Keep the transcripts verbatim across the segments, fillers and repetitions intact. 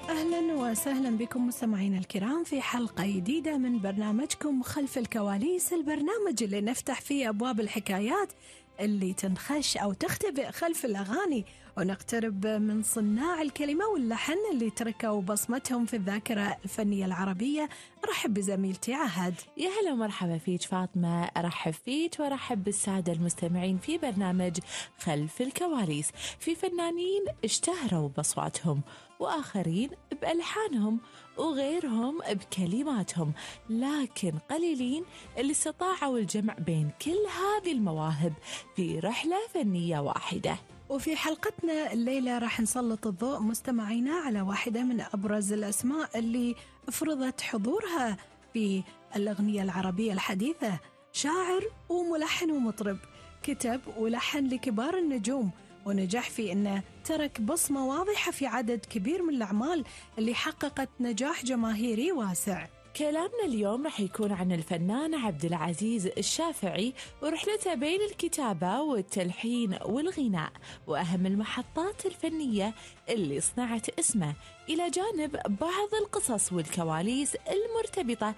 أهلا وسهلا بكم مستمعينا الكرام في حلقة جديدة من برنامجكم خلف الكواليس، البرنامج اللي نفتح فيه أبواب الحكايات اللي تنخش أو تختبئ خلف الأغاني، ونقترب من صناع الكلمة واللحن اللي تركوا بصمتهم في الذاكرة الفنية العربية. أرحب بزميلتي عهد. يا هلا ومرحبا فيك فاطمة، أرحب فيك وأرحب بالسادة المستمعين في برنامج خلف الكواليس. في فنانين اشتهروا بأصواتهم، وآخرين بألحانهم، وغيرهم بكلماتهم، لكن قليلين اللي استطاعوا الجمع بين كل هذه المواهب في رحلة فنية واحدة. وفي حلقتنا الليلة راح نسلط الضوء مستمعينا على واحدة من أبرز الأسماء اللي فرضت حضورها في الأغنية العربية الحديثة، شاعر وملحن ومطرب، كتب ولحن لكبار النجوم، ونجح في أنه ترك بصمة واضحة في عدد كبير من الأعمال اللي حققت نجاح جماهيري واسع. كلامنا اليوم رح يكون عن الفنان عبد العزيز الشافعي ورحلته بين الكتابة والتلحين والغناء، وأهم المحطات الفنية اللي صنعت اسمه، إلى جانب بعض القصص والكواليس المرتبطة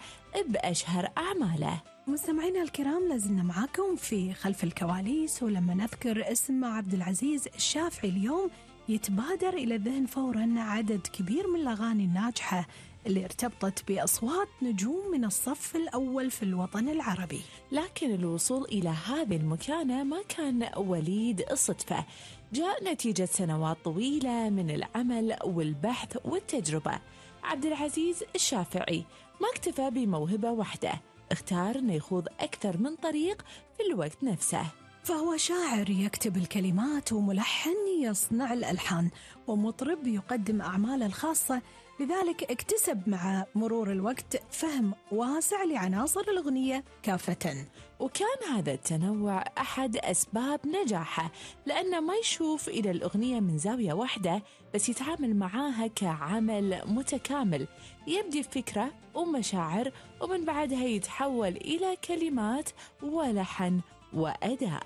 بأشهر أعماله. مستمعينا الكرام، لازلنا معاكم في خلف الكواليس، ولما نذكر اسم عبد العزيز الشافعي اليوم يتبادر إلى الذهن فوراً عدد كبير من الأغاني الناجحة اللي ارتبطت بأصوات نجوم من الصف الأول في الوطن العربي. لكن الوصول إلى هذه المكانة ما كان وليد الصدفة، جاء نتيجة سنوات طويلة من العمل والبحث والتجربة. عبد العزيز الشافعي ما اكتفى بموهبة واحدة، اختار أن يخوض أكثر من طريق في الوقت نفسه. فهو شاعر يكتب الكلمات، وملحن يصنع الألحان، ومطرب يقدم أعماله الخاصة، لذلك اكتسب مع مرور الوقت فهم واسع لعناصر الأغنية كافة. وكان هذا التنوع أحد أسباب نجاحه، لأنه ما يشوف إلى الأغنية من زاوية واحدة، بس يتعامل معاها كعمل متكامل، يبدي فكرة ومشاعر، ومن بعدها يتحول إلى كلمات ولحن وأداء.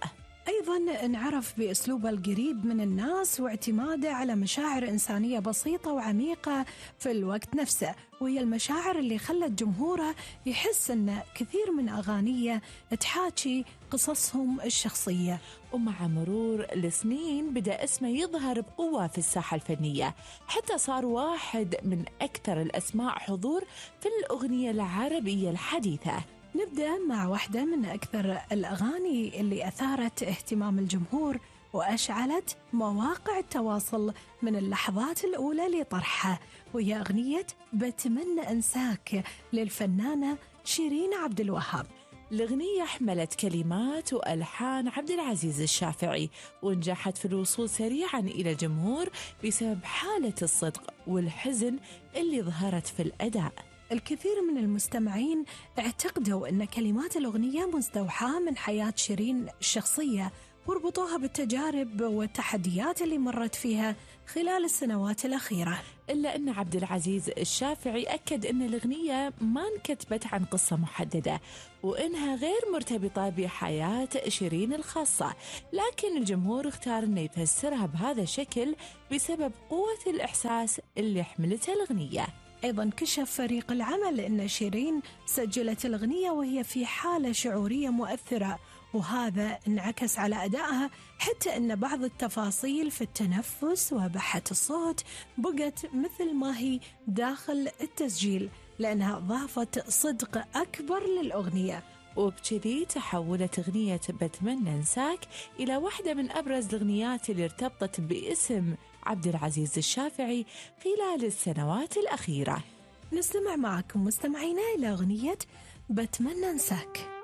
أيضاً انعرف بأسلوبه القريب من الناس واعتماده على مشاعر إنسانية بسيطة وعميقة في الوقت نفسه، وهي المشاعر اللي خلت جمهوره يحس أن كثير من أغانيه تحاكي قصصهم الشخصية. ومع مرور السنين بدأ اسمه يظهر بقوة في الساحة الفنية، حتى صار واحد من أكثر الأسماء حضور في الأغنية العربية الحديثة. نبدأ مع واحدة من أكثر الأغاني اللي أثارت اهتمام الجمهور وأشعلت مواقع التواصل من اللحظات الأولى لطرحها، وهي أغنية بتمنى أنساك للفنانة شيرين عبد الوهاب. الأغنية حملت كلمات وألحان عبد العزيز الشافعي، ونجحت في الوصول سريعا إلى الجمهور بسبب حالة الصدق والحزن اللي ظهرت في الأداء. الكثير من المستمعين اعتقدوا أن كلمات الأغنية مستوحاة من حياة شيرين الشخصية، وربطوها بالتجارب والتحديات اللي مرت فيها خلال السنوات الأخيرة. إلا أن عبد العزيز الشافعي أكد أن الأغنية ما انكتبت عن قصة محددة، وإنها غير مرتبطة بحياة شيرين الخاصة، لكن الجمهور اختار أن يفسرها بهذا الشكل بسبب قوة الإحساس اللي حملتها الأغنية. أيضاً كشف فريق العمل أن شيرين سجلت الأغنية وهي في حالة شعورية مؤثرة، وهذا انعكس على أدائها، حتى أن بعض التفاصيل في التنفس وبحة الصوت بقت مثل ما هي داخل التسجيل، لأنها ضافت صدق أكبر للأغنية. وبكذي تحولت أغنية بتمنى أنساك إلى واحدة من أبرز الأغنيات اللي ارتبطت باسم عبد العزيز الشافعي خلال السنوات الأخيرة. نستمع معكم مستمعينا إلى أغنية بتمنى أنساك.